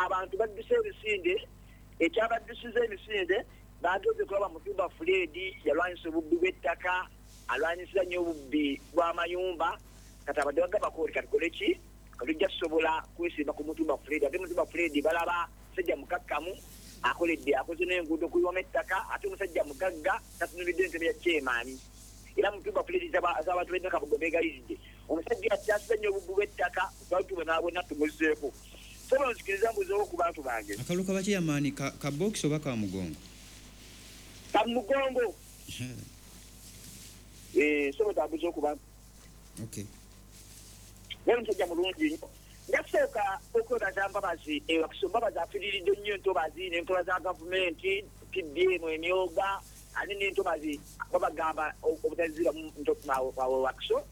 Abantu badduse ebisinde. Ekyabaddusiza emisinde, bagenze kulaba Mutumba Fred yalwanyisa obubbi bw'ettaka, alwanyisiza nnyo obubbi bw'amayumba. Kati abadde bagamba kooti, katukole ki? Katujja tusobola kwesimba ku Mutumba Fred. Ate Mutumba Fred balaba musajja mukakkamu, akoledde, akoze n'enguudo kuyiwamu ettaka, ate omusajja mugagga, tatunulidde entebe ya chairman. Era Mutumba Fred z'abantu b'e Nakabugo beegayiridde omusajja akyasiza nnyo obubbi bw'ettaka, bantu bonaabona tumuzzeeko. Sobola nzikiriza mbuzeewo ku bantu bange. Akalulu ka bakyeyamaani ka box oba ka mugongo? Ka mugongo. Sobola tambuzeewo ku bantu. Okay. Naye omusajja mulungi nnyo. Njasooka okwebaza Mbabazi ewakiso. Mbabazi afiriridde nnyo entobazi n'enkola za gavumenti, PDM emyoga, ate n'entobazi babagamba obutaziramu wakiso.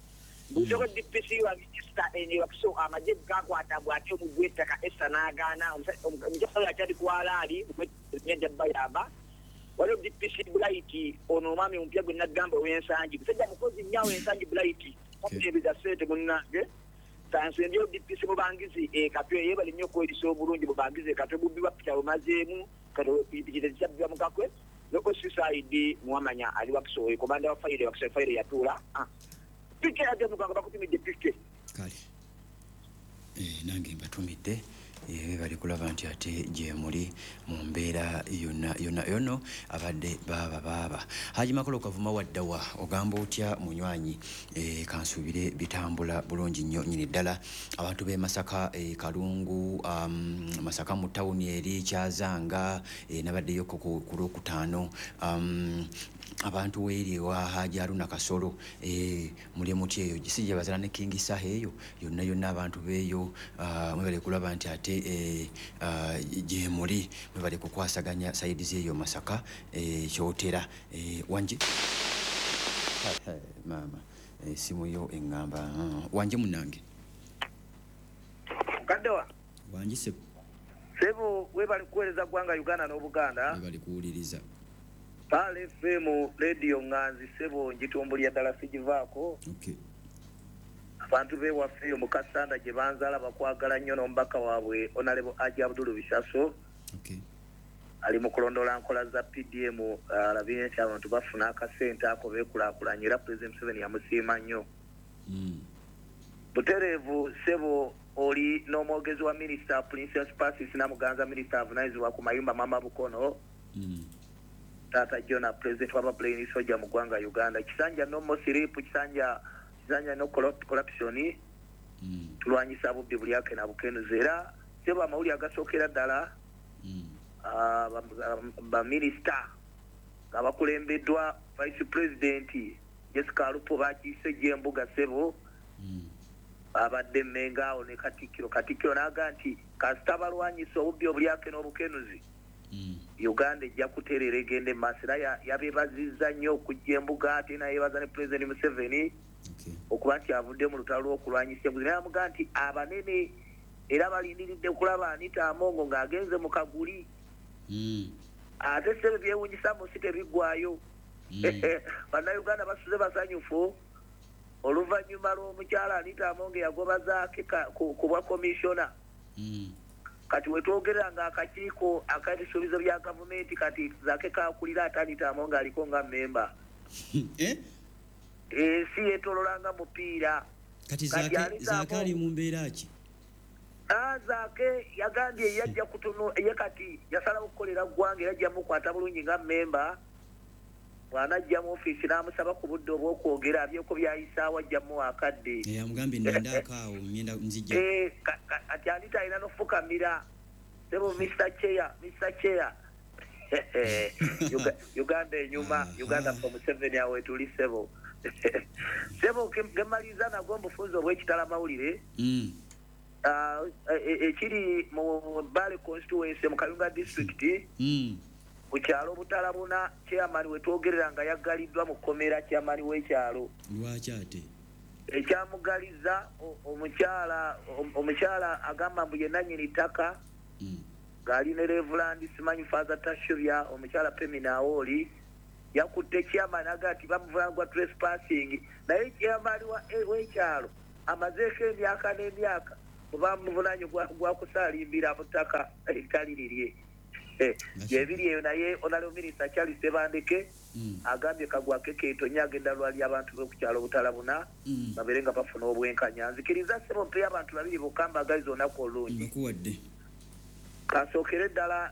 Mbuuzeko DPC wange Esther eno ewakiso, amagye gakwata bw'ate omugwi w'ettaka Esther n'agaana. Omukyala akyali ku alaali ajja bayamba. Waliwo DPC Blight, ono omwami omupya gwe nagamba ow'Ensangi, musajja mukozi nnyo awo Ensangi. Blight takuteebeza ssente munnange. Kansembyeyo DPC Mubangizi e Katwe, yeebale nnyo okwerisa obulungi. Mubangizi e Katwe bubbi bwa pita bumazeemu, kati pikipiki tezikyabbibwa mu Kakwe. Ne OCCID Muwamanya ali Wakiso, komanda wa fayiro Wakiso, fayiro yatuula. Pike ate muganga bakutumidde pike. Kale, nange mbatumidde. Bali kulaba nti ate gye muli mu mbeera yonna yonna yono abadde baaba baaba. Haji Makolo Kavuma waddawa, ogamba otya munywanyi? Kansuubire bitambula bulungi nnyo nyini ddala. Abantu b'e Masaka, Kalungu, Masaka mu tawuni eri Kyazanga, nabaddeyoko ku Lwokutaano. Abantu weeri ewa Haji Aruna Kasolo, muli muti eyo si gye bazala ne King Saha eyo yonna yonna, abantu beeyo, mwebale kulaba nti ate gye muli, mwebale kukwasaganya side zeeyo Masaka, Kyotera, wanje maama, esimu yo eŋŋamba, wanje munnange. Mukaddewa. Wangi sebo. Sebo, webali kuweereza ggwanga Uganda n'Obuganda. Webali kuwuliriza. Pearl FM radio ŋŋanzi sebo, njitumbulya ddala, sigivaako. Abantu bewaffe eyo mu Kasanda gye banzaala bakwagala nnyo n'omubaka waabwe Honorable Haji Abdulu Bisaso. Ali mu kulondoola nkola za PDM, alabye nti abantu bafuna akasente ako beekulaakulanya, era President Museveni yamusiima nnyo. Butereevu sebo, oli n'omwogezi wa Minisita Princess Pacis Namuganza, minisita avunaanyizibwa ku mayumba Mama Bukono. Taata Jona, president w'aba Plain Soldier mu ggwanga Uganda. Kisanja no more sleep, Kisanja, Kisanja no corruption. Tulwanyisa bubbi buli ake na bukenuzi. Era sebo, amawulire agasookera ddala, baminisita nga bakulembeddwa Vice President Jessica Alupo bakiise gyembuga sebo. Babadde Mmenga awo ne Katikkiro. Katikkiro n'aga nti kasita balwanyisa obubbi obulyake n'obukenuzi, Uganda ejja kutereera egende maaso. Era yabebazizza nnyo okujja embuga, ate nayebaza ne President Museveni okuba nti avudde mu lutalo lw'okulwanyisa enguzi. Naye amugaa nti abanene era balindiridde kulaba Anita Amongo ng'agenze mu kaguli. Ate sebe byewunyisa mu nsi tebiggwayo. Bannayuganda basuze basanyufu oluvannyuma lw'omukyala Anita Amongo yagoba Zaake ku bwa komishona. Kati wetwogerera nga akakiiko ak'ebisuubizo bya gavumenti kati Zaake kakulira, ate Anita Amongo aliko nga memba. Eh? Ensi yeetolola nga mupiira. Kati Zaake ali mu mbeera ki? Zaake yagambye yajja kutuno ye, kati yasalawo okukolera ggwanga era ajja mukwata bulungi nga memba. Bw'anajja mu ofiisi n'amusaba ku budde obw'okwogera abyeko byayisaawo, ajja muwa akadde. Amugambye nnindaako awo, ngenda nzija. Kati Anita alina n'ofukamira sebo, Mr Chair, Mr Chair. Uganda enyuma. Uganda for Museveni, awo etuli sebo. Sebo, gemaliriza nagwo mubufunzi obw'ekitala mawulire. Ekiri mu Bale constituency mu Kayunga District, ku kyalo Butalabuna, chairman wetwogerera nga yaggaliddwa mu kkomera, chairman w'ekyalo. Lwaki ate? Ekyamugaliza omukyala agamba mbu ye nannyini ttaka, ng'ali ne Reverend simanyi Father Tashobya. Omukyala Pemina Awooli yakutte chairman, aga nti bamuvunana gwa trespassing, naye chairman w'ekyalo amazeeko emyaka n'emyaka. Bamuvunanye gwakusaalimbira mu ttaka eritali lirye. Gyebiri eyo. Naye Honorable Minister Charles Tebandeke agambye kagwake keetonye, agenda lwali abantu b'okukyalo Butalabuna babeere nga bafuna obwenkanya. Nzikiriza, ssebo, mpeyo abantu babiri bokka, mbagaliza olunaku olulungi. Mbakuwadde. Kasookere ddala.